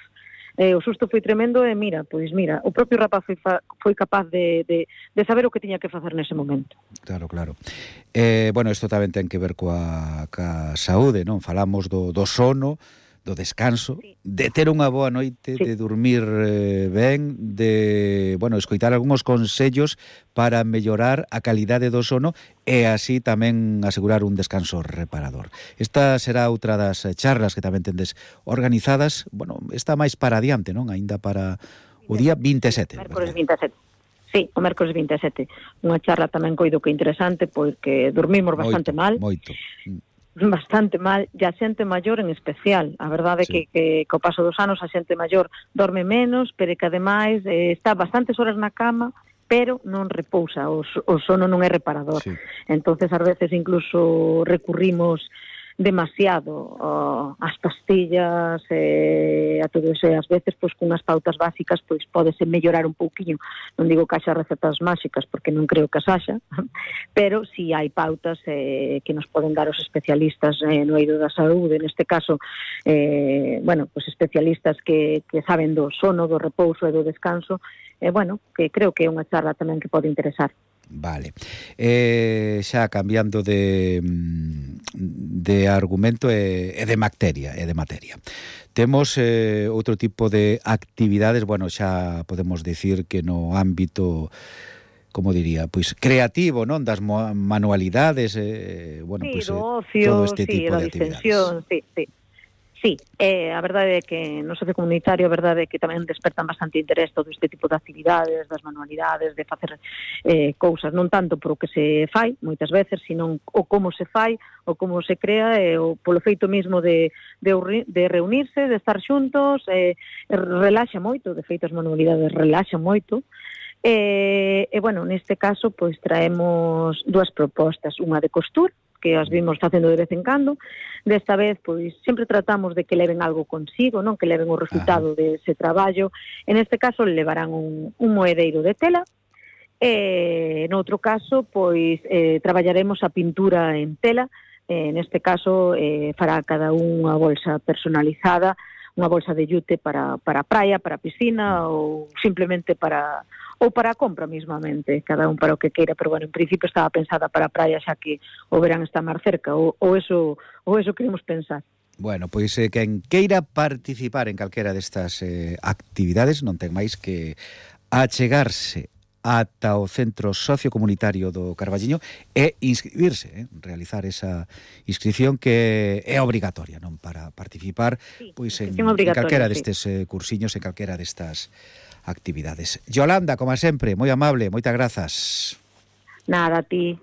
[SPEAKER 13] Eh, o susto foi tremendo e mira, pois mira, o propio rapaz foi, fa, foi capaz de, de, de saber o que tiña que facer nese momento.
[SPEAKER 3] Claro, claro. Eh, bueno, isto tamén ten que ver coa, coa saúde, non? Falamos do, do sono, do descanso, sí. de ter unha boa noite, sí. de dormir eh, ben, de, bueno, escoitar algúns consellos para mellorar a calidade do sono e así tamén asegurar un descanso reparador. Esta será outra das charlas que tamén tendes organizadas, bueno, está máis para adiante, non? Aínda para o día vinte e sete.
[SPEAKER 13] Mércores vinte e sete. Sí, o mércores vinte e sete. Unha charla tamén coido que interesante, porque dormimos bastante moito, mal.
[SPEAKER 3] Moito,
[SPEAKER 13] bastante mal, e a xente maior en especial. A verdade é sí. que, que co paso dos anos a xente maior dorme menos, pero que ademais eh, está bastantes horas na cama, pero non repousa, o, o sono non é reparador. Sí. Entonces, ás veces incluso recurrimos demasiado uh, ás pastillas e eh, a todo eso, e ás veces pois cunhas pautas básicas pois pódese mellorar un pouquiño. Non digo que haxa recetas máxicas porque non creo que as haxa, pero si sí hai pautas eh, que nos poden dar os especialistas eh, no eido da saúde, neste caso eh, bueno, pois especialistas que, que saben do sono, do repouso e do descanso, e eh, bueno, que creo que é unha charla tamén que pode interesar.
[SPEAKER 3] Vale. Eh, xa cambiando de de argumento e, e de materia, e de materia. Temos eh, outro tipo de actividades, bueno, xa podemos decir que no ámbito, como diría, pois creativo, non, das manualidades, eh, bueno,
[SPEAKER 13] sí,
[SPEAKER 3] pois
[SPEAKER 13] do ocio,
[SPEAKER 3] todo este
[SPEAKER 13] sí,
[SPEAKER 3] tipo de actividades.
[SPEAKER 13] Sí, sí. Sí, eh, a verdade é que no socio comunitario a verdade é que tamén despertan bastante interés todo este tipo de actividades, das manualidades, de facer eh, cousas, non tanto por o que se fai, moitas veces, sino o como se fai, o como se crea, e o polo feito mismo de, de, de reunirse, de estar xuntos, eh, relaxa moito, de feito as manualidades relaxan moito. E, e bueno, neste caso, pois traemos dúas propostas, unha de costura, que as vimos facendo de vez en cando. Desta vez, pois, sempre tratamos de que leven algo consigo, non que leven o resultado dese traballo. En este caso, levarán un, un moedeiro de tela. E, noutro caso, pois, eh, traballaremos a pintura en tela. Eh, neste caso, eh, fará cada unha bolsa personalizada, unha bolsa de yute para, para a praia, para a piscina, ou simplemente para... ou para a compra mismamente, cada un para o que queira, pero bueno, en principio estaba pensada para a praia, xa que o verán está máis cerca, ou, ou eso ou eso queremos pensar.
[SPEAKER 3] Bueno, pois eh, quen queira participar en calquera destas eh, actividades non ten máis que achegarse ata o Centro Sociocomunitario do Carballiño e inscribirse, eh, realizar esa inscripción que é obrigatoria, non, para participar, sí, pois en, en calquera destes sí. eh, cursiños, en calquera destas actividades. Yolanda, como sempre, moi amable, moitas grazas.
[SPEAKER 13] Nada, a ti.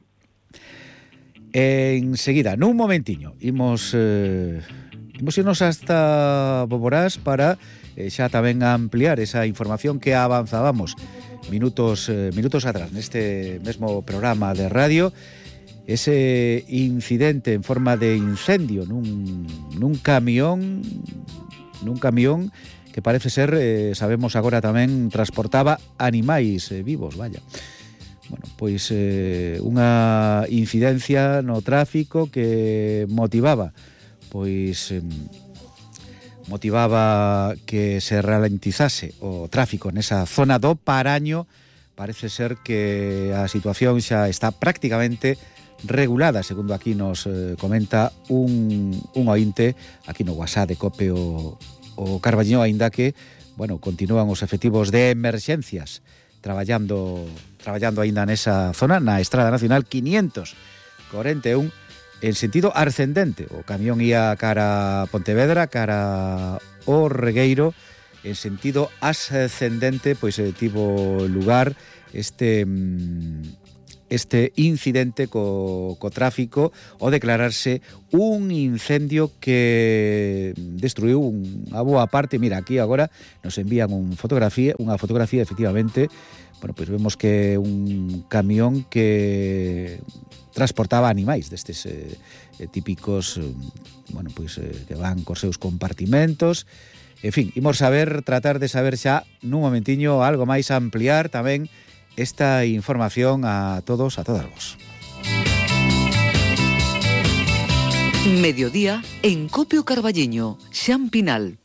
[SPEAKER 3] Enseguida, nun momentiño, imos eh, imos irnos hasta Boborás para eh, xa tamén ampliar esa información que avanzábamos minutos eh, minutos atrás neste mesmo programa de radio, ese incidente en forma de incendio nun, nun camión nun camión que parece ser, eh, sabemos agora tamén, transportaba animais eh, vivos, vaya. Bueno, pois eh, unha incidencia no tráfico que motivaba, pois eh, motivaba que se ralentizase o tráfico nesa zona do Paraño. Parece ser que a situación xa está prácticamente regulada, segundo aquí nos eh, comenta un, un ointe aquí no WhatsApp de Cope o, o Carballiño, aínda que, bueno, continúan os efectivos de emerxencias traballando traballando aínda nesa zona, na Estrada Nacional quinientos cuarenta e un, en sentido ascendente. O camión ia cara a Pontevedra, cara o Regueiro, en sentido ascendente, pois eh, tivo lugar este este incidente co, co tráfico ao declararse un incendio que destruiu unha boa parte. Mira, aquí agora nos envían un fotografía, unha fotografía efectivamente. Bueno, pois vemos que un camión que transportaba animais destes eh, típicos, eh, bueno, pois eh, que van cos seus compartimentos. En fin, imos saber, tratar de saber xa nun momentiño algo máis, ampliar tamén esta información a todos, a todas vos.
[SPEAKER 7] Mediodía en Copio Carballiño, Xan Pinal.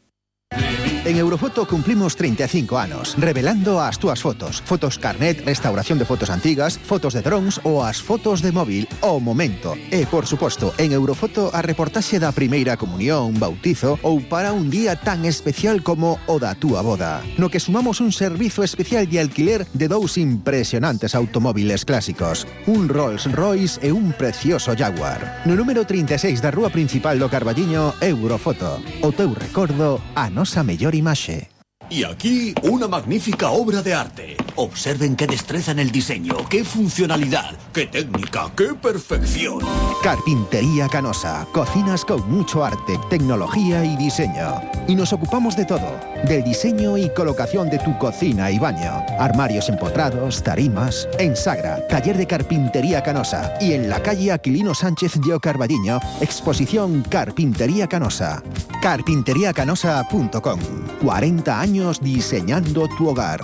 [SPEAKER 1] En Eurofoto cumplimos treinta e cinco anos, revelando as túas fotos. Fotos carnet, restauración de fotos antigas, fotos de drones ou as fotos de móvil ao momento. E, por suposto, en Eurofoto a reportaxe da primeira comunión, bautizo ou para un día tan especial como o da túa boda. No que sumamos un servizo especial de alquiler de dous impresionantes automóviles clásicos. Un Rolls Royce e un precioso Jaguar. No número trinta e seis da rúa principal do Carballiño, Eurofoto. O teu recordo, a nosa mellor imaxe.
[SPEAKER 14] Y aquí una magnífica obra de arte. Observen qué destreza en el diseño, qué funcionalidad, qué técnica, qué perfección.
[SPEAKER 1] Carpintería Canosa. Cocinas con mucho arte, tecnología y diseño. Y nos ocupamos de todo. Del diseño y colocación de tu cocina y baño. Armarios empotrados, tarimas. En Sagra, taller de Carpintería Canosa. Y en la calle Aquilino Sánchez de Carballiño, exposición Carpintería Canosa. carpintería canosa punto com. cuarenta años diseñando tu hogar.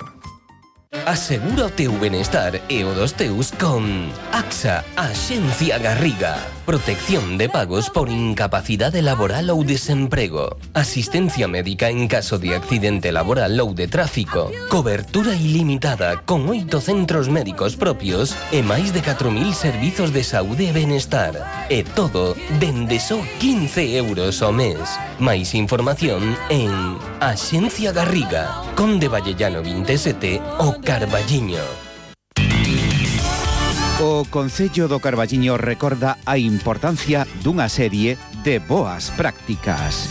[SPEAKER 11] Asegura o teu benestar e o dos teus con AXA, Axencia Garriga. Protección de pagos por incapacidade laboral ou desemprego. Asistencia médica en caso de accidente laboral ou de tráfico. Cobertura ilimitada con oito centros médicos propios e máis de catro mil servizos de saúde e benestar. E todo dende só quince euros ao mes. Máis información en Axencia Garriga, Conde Vallellano vinte e sete, o Carballiño.
[SPEAKER 3] O Concello do Carballiño recorda a importancia dunha serie de boas prácticas.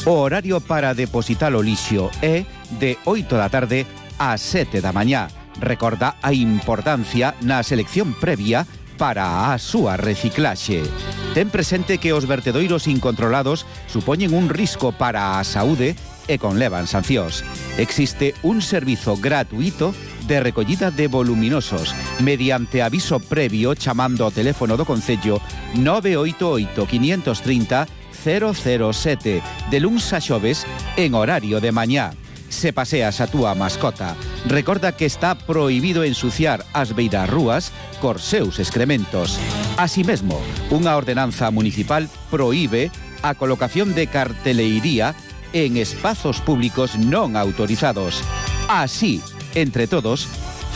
[SPEAKER 3] O horario para depositar o lixo é de oito da tarde a sete da mañá. Recorda a importancia na selección previa para a súa reciclaxe. Ten presente que os vertedoiros incontrolados supoñen un risco para a saúde e conlevan sancións. Existe un servizo gratuito de recollida de voluminosos mediante aviso previo chamando ao teléfono do Concello nove oito oito, cinco tres cero, cero cero sete de luns a xoves en horario de mañá. Se paseas a túa mascota, recorda que está prohibido ensuciar as beirarrúas cos seus excrementos. Así mesmo, unha ordenanza municipal prohíbe a colocación de carteleiría en espazos públicos non autorizados. Así, entre todos,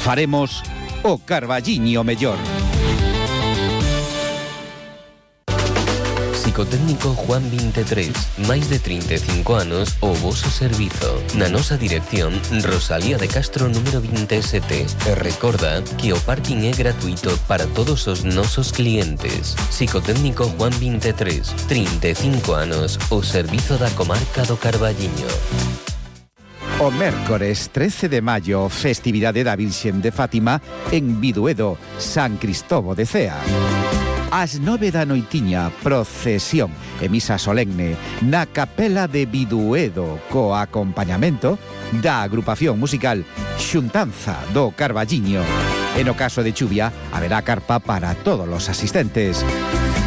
[SPEAKER 3] faremos o Carballiño mellor.
[SPEAKER 11] Psicotécnico Juan veintitrés, máis de treinta e cinco anos o voso servizo. Na nosa dirección, Rosalía de Castro número veinte e sete. E recorda que o parking é gratuito para todos os nosos clientes. Psicotécnico Juan veintitrés, treinta e cinco anos o servizo da comarca do Carballiño.
[SPEAKER 3] O mércores trece de maio, festividade da Virxen de Fátima en Biduedo, San Cristobo de Cea. Ás nove da noitiña, procesión e misa solemne na capela de Biduedo co acompañamento da agrupación musical Xuntanza do Carballiño. E no caso de chuvia, haberá carpa para todos os asistentes.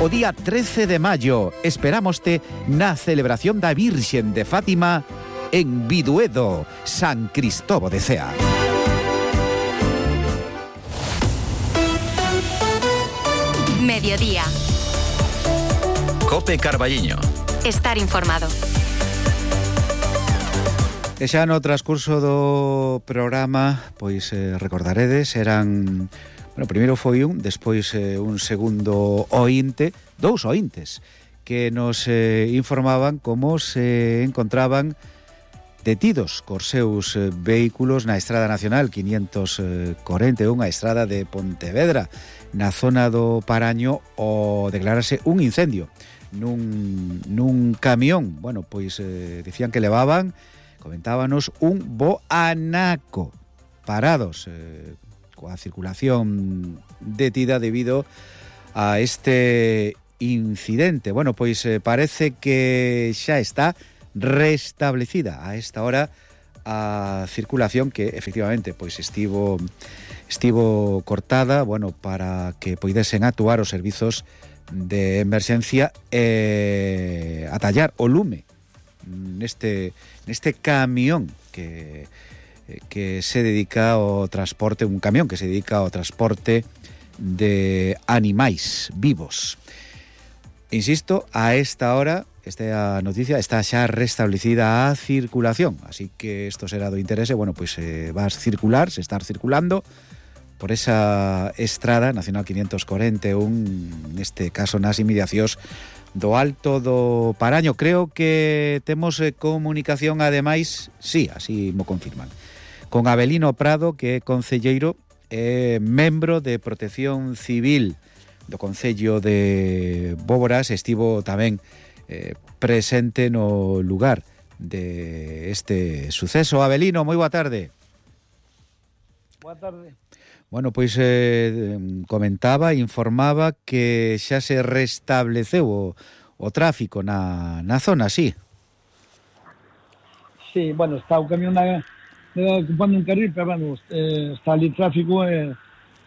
[SPEAKER 3] O día trece de maio, esperámoste na celebración da Virxen de Fátima en Biduedo, San Cristobo de Cea.
[SPEAKER 2] Mediodía.
[SPEAKER 10] Cope Carballiño.
[SPEAKER 2] Estar informado.
[SPEAKER 3] E xa no transcurso do programa, pois eh, recordaredes, eran Bueno, primeiro foi un, despois eh, un segundo ointe, dous ointes, que nos eh, informaban como se encontraban detidos cos seus eh, vehículos na Estrada Nacional quinientos corenta e un, a estrada de Pontevedra, na zona do Paraño, o declararse un incendio nun, nun camión. Bueno, pois eh, dicían que levaban, comentábanos, un bo anaco parados, eh, coa circulación detida debido a este incidente. Bueno, pois eh, parece que xa está restablecida a esta hora a circulación, que efectivamente pois estivo estivo cortada, bueno, para que poidesen actuar os servizos de emerxencia e atallar o lume neste neste camión que que se dedica ao transporte, un camión que se dedica ao transporte de animais vivos. Insisto, a esta hora esta noticia está xa restablecida a circulación, así que isto será do interese. Bueno, pois eh, vas circular, se estar circulando por esa estrada Nacional quinientos corenta e un, neste caso nas inmediacións do Alto do Paraño. Creo que temos eh, comunicación, ademais, sí, así mo confirman, con Avelino Prado, que é concelleiro e eh, membro de Protección Civil do Concello de Bóboras. Estivo tamén eh, presente no lugar de este suceso. Avelino, moi boa tarde.
[SPEAKER 15] Boa tarde.
[SPEAKER 3] Bueno, pois eh, comentaba, informaba que xa se restableceu o, o tráfico na, na zona, sí?
[SPEAKER 15] Sí, bueno, está o camión na, ocupando un carril, pero bueno, eh, está ali tráfico e,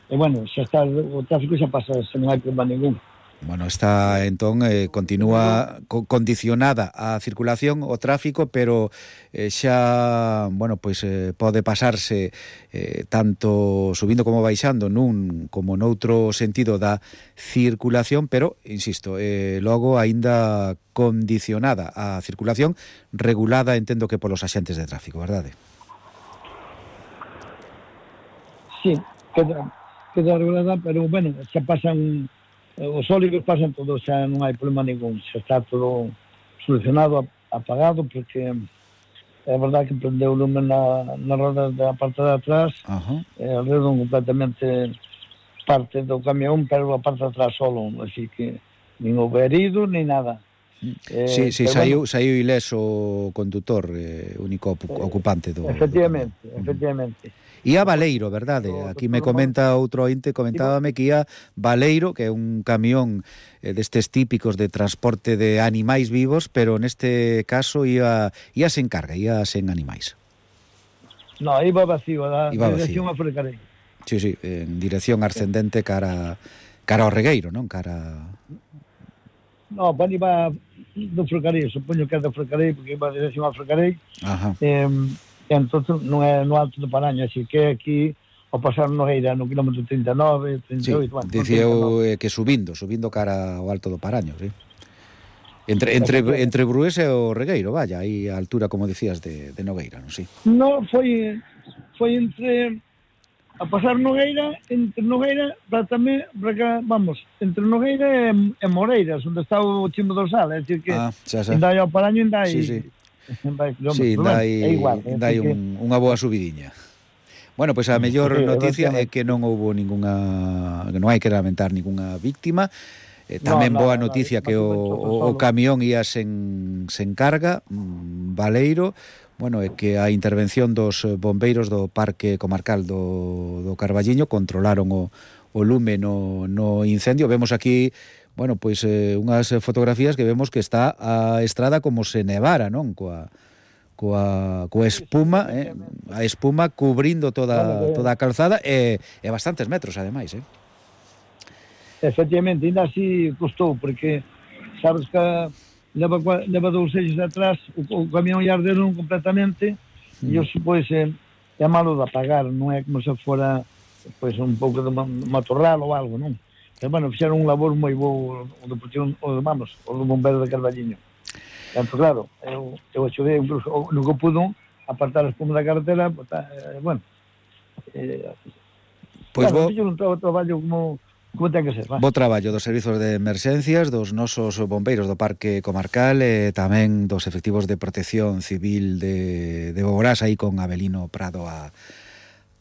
[SPEAKER 15] e bueno, xa está, o tráfico xa pasa, se non hai problema ningún.
[SPEAKER 3] Bueno, está entón eh, continúa co condicionada a circulación, o tráfico, pero eh, xa, bueno, pois eh, pode pasarse eh, tanto subindo como baixando nun como noutro sentido da circulación, pero insisto, eh, logo aínda condicionada a circulación, regulada, entendo que polos axentes de tráfico, verdade?
[SPEAKER 15] Sí, queda, queda regulada, pero bueno, xa pasan os sólidos, pasan todos, xa non hai problema ningún, xa está todo solucionado, apagado, porque é verdade que prendeu o lume na, na roda da parte de atrás, uh-huh. eh, alrededor completamente parte do camión, pero a parte de atrás solo, así que nin houve herido, nin nada.
[SPEAKER 3] Eh, sí, sí, saiu, bueno, saiu ileso o condutor, eh, único ocupante do...
[SPEAKER 15] Efectivamente, do... efectivamente.
[SPEAKER 3] Ía Baleiro, verdade? Aquí me comenta outro ointe, comentábame que ía Baleiro, que é un camión eh, destes típicos de transporte de animais vivos, pero neste caso ía, ía sen carga, ía sen animais.
[SPEAKER 15] No, iba vacío, da
[SPEAKER 3] iba
[SPEAKER 15] dirección
[SPEAKER 3] vacío.
[SPEAKER 15] a Frecarei.
[SPEAKER 3] Sí, sí, en dirección ascendente cara, cara ao Regueiro, non? Cara...
[SPEAKER 15] No, bueno, iba do Frecarei, supoño que é do Frecarei, porque iba a dirección a Frecarei.
[SPEAKER 3] Ajá.
[SPEAKER 15] Eh, entonces non é no Alto do Paraño, así que aquí ao pasar Nogueira no kilómetro trinta e nove, trinta e oito,
[SPEAKER 3] sí,
[SPEAKER 15] bueno,
[SPEAKER 3] dicía eu eh, que subindo, subindo cara ao Alto do Paraño, sí. Entre, entre, entre Brués e o Regueiro, vaya, aí a altura, como decías, de, de Nogueira, non? Sí.
[SPEAKER 15] No, foi foi entre a pasar Nogueira, entre Nogueira, para tamén, para cá, vamos, entre Nogueira e, e Moreiras, onde está o Chimo dorsal, é dicir que
[SPEAKER 3] ah, xa, xa.
[SPEAKER 15] ainda hai ao Paraño, ainda hai...
[SPEAKER 3] Sí, sí.
[SPEAKER 15] Sí,
[SPEAKER 3] dai,
[SPEAKER 15] é igual,
[SPEAKER 3] dai un, unha boa subidiña. Bueno, pois pues a mellor sí, noticia é que non houbo ningunha, que non hai que lamentar ningunha víctima. Eh, tamén no, no, boa noticia no, que o, o, o camión ia sen, sen carga, mm, Baleiro. Bueno, é que a intervención dos bombeiros do Parque Comarcal do, do Carballiño controlaron o, o lume no, no incendio. Vemos aquí, bueno, pois eh, unhas fotografías que vemos que está a estrada como se nevara, non? Coa, coa, coa espuma, eh? A espuma cubrindo toda, toda a calzada e, e bastantes metros, ademais, eh?
[SPEAKER 15] Efectivamente, ainda así costou, porque sabes que leva, leva dous eixos atrás, o, o camión ia arderon completamente, mm. e os, pois, é, é malo de apagar, non é como se fora pois, un pouco de matorral ou algo, non? Pero, bueno, fixeron un labor moi bo o do, o, vamos, o do bombeiro de Carballiño. Então, claro, eu, eu axudei, incluso, no que pudo, apartar a espuma da carretera, eh, bueno, eh,
[SPEAKER 3] Pois
[SPEAKER 15] claro,
[SPEAKER 3] bo...
[SPEAKER 15] eu non trago traballo como, como ten que ser. Va.
[SPEAKER 3] Bo traballo dos servizos de emerxencias, dos nosos bombeiros do Parque Comarcal e tamén dos efectivos de protección civil de, de Boborás, aí con Abelino Prado a,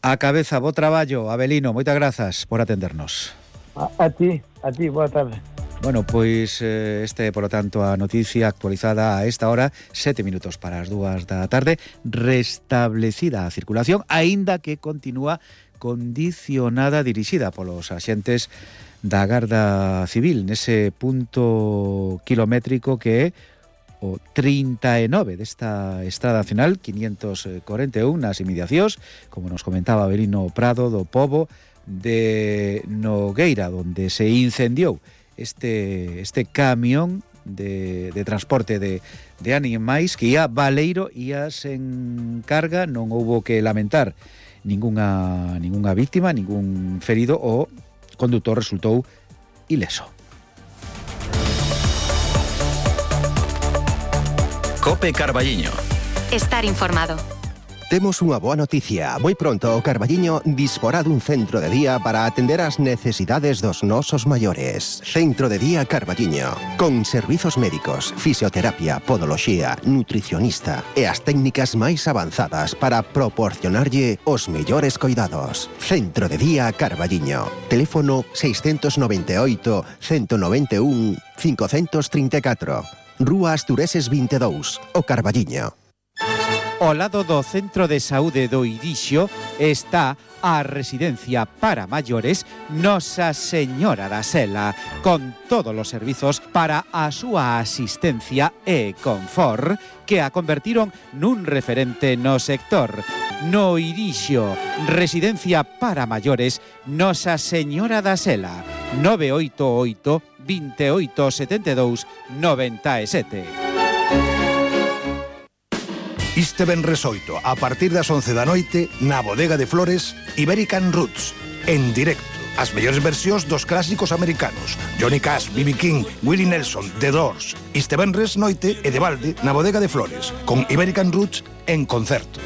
[SPEAKER 3] a cabeza. Bo traballo, Abelino, moitas grazas por atendernos.
[SPEAKER 15] A, a ti, a ti, boa tarde.
[SPEAKER 3] Bueno, pois eh, este, por lo tanto, a noticia actualizada a esta hora, sete minutos para as dúas da tarde, restablecida a circulación, aínda que continúa condicionada, dirixida polos axentes da Garda Civil, nese punto kilométrico que é o trinta e nove desta Estrada Nacional quinientos corenta e un nas inmediacións, como nos comentaba Abelino Prado, do pobo de Nogueira, onde se incendiou este este camión de, de transporte de, de animais que ia baleiro, ia sen carga, non houbo que lamentar ningunha, ningunha víctima, ningún ferido, o condutor resultou ileso.
[SPEAKER 10] Cope Carballiño.
[SPEAKER 2] Estar informado.
[SPEAKER 1] Temos unha boa noticia. Moi pronto o Carballiño disporá dun centro de día para atender as necesidades dos nosos maiores. Centro de día Carballiño, con servizos médicos, fisioterapia, podoloxía, nutricionista e as técnicas máis avanzadas para proporcionarlle os mellores coidados. Centro de día Carballiño. Teléfono seiscentos noventa e oito, ciento noventa e un, quinhentos trinta e catro. Rúa Astureses vinte e dous, o Carballiño.
[SPEAKER 3] Ao lado do Centro de Saúde do Irixo está a residencia para maiores Nosa Señora da Sela, con todos os servizos para a súa asistencia e confort, que a convertiron nun referente no sector. No Irixo, residencia para maiores Nosa Señora da Sela, nove oito oito, veintioito setenta e dous, noventa e sete.
[SPEAKER 16] Este venres oito, a partir das once da noite, na Bodega de Flores, Iberican Roots, en directo. As mellores versións dos clásicos americanos, Johnny Cash, B B King, Willie Nelson, The Doors. Este venres noite e de balde na Bodega de Flores, con Iberican Roots en concerto.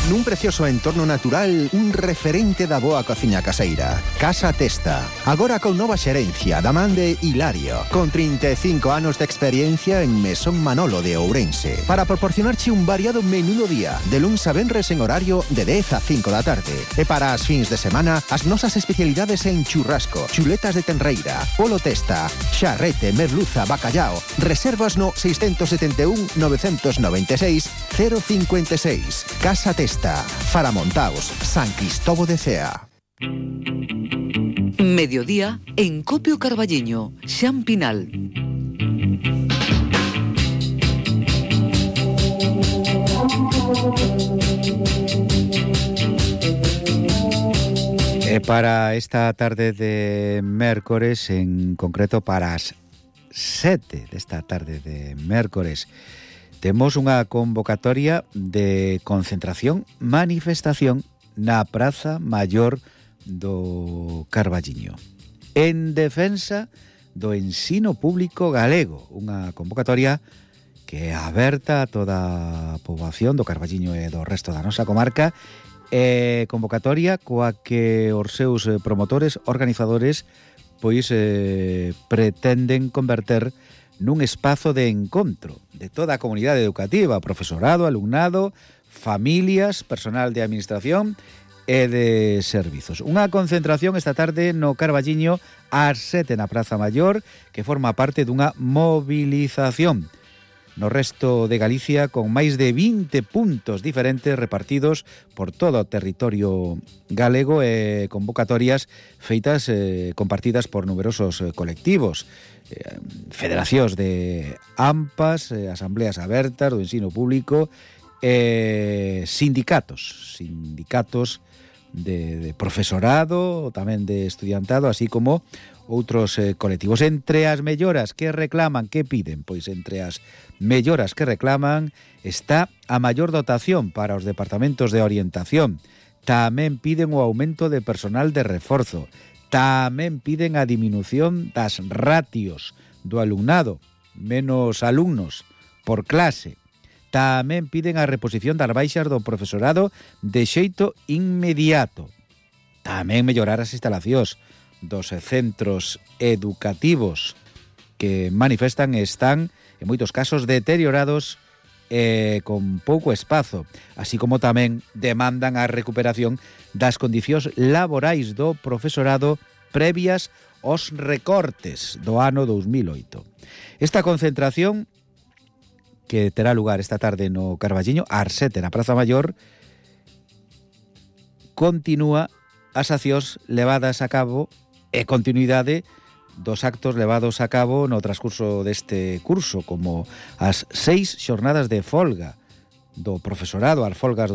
[SPEAKER 1] Nun precioso entorno natural, un referente da boa cociña caseira. Casa Testa. Agora con nova xerencia da man de Hilario, con trinta e cinco anos de experiencia en Mesón Manolo de Ourense, para proporcionarche un variado menú do día, de luns a venres en horario de dez a cinco da tarde. E para as fins de semana, as nosas especialidades en churrasco, chuletas de tenreira, polo testa, xarrete, merluza, bacallao. Reservas no seiscentos setenta e un, novecentos noventa e seis, cero cincuenta e seis. Casa Testa. Faramontaos, San Cristobo de Cea.
[SPEAKER 7] Mediodía en Copio Carballiño, Xan Pinal.
[SPEAKER 3] E para esta tarde de mércores, en concreto para as sete desta tarde de mércores, temos unha convocatoria de concentración, manifestación na Praza Maior do Carballiño, en defensa do ensino público galego. Unha convocatoria que é aberta a toda a poboación do Carballiño e do resto da nosa comarca, e convocatoria coa que os seus promotores, organizadores, pois eh, pretenden converter nun espazo de encontro de toda a comunidade educativa, profesorado, alumnado, familias, personal de administración e de servizos. Unha concentración esta tarde no Carballiño ás sete na Praza Maior, que forma parte dunha movilización no resto de Galicia, con máis de vinte puntos diferentes repartidos por todo o territorio galego, e convocatorias feitas, eh, compartidas por numerosos eh, colectivos, eh, federacións de AMPAs, eh, asambleas abertas do ensino público, eh, sindicatos, sindicatos de, de profesorado, tamén de estudiantado, así como outros eh, colectivos. Entre as melloras que reclaman, que piden? Pois entre as melloras que reclaman está a maior dotación para os departamentos de orientación. Tamén piden o aumento de personal de reforzo. Tamén piden a diminución das ratios do alumnado, menos alumnos por clase. Tamén piden a reposición das baixas do profesorado de xeito inmediato. Tamén mellorar as instalacións dos centros educativos que manifestan están, en moitos casos, deteriorados e con pouco espazo, así como tamén demandan a recuperación das condicións laborais do profesorado previas aos recortes do ano dous mil oito. Esta concentración, que terá lugar esta tarde no Carballiño, ás sete na Praza Maior, continúa as accións levadas a cabo e continuidade dos actos levados a cabo no transcurso deste curso, como as seis xornadas de folga do profesorado, as folgas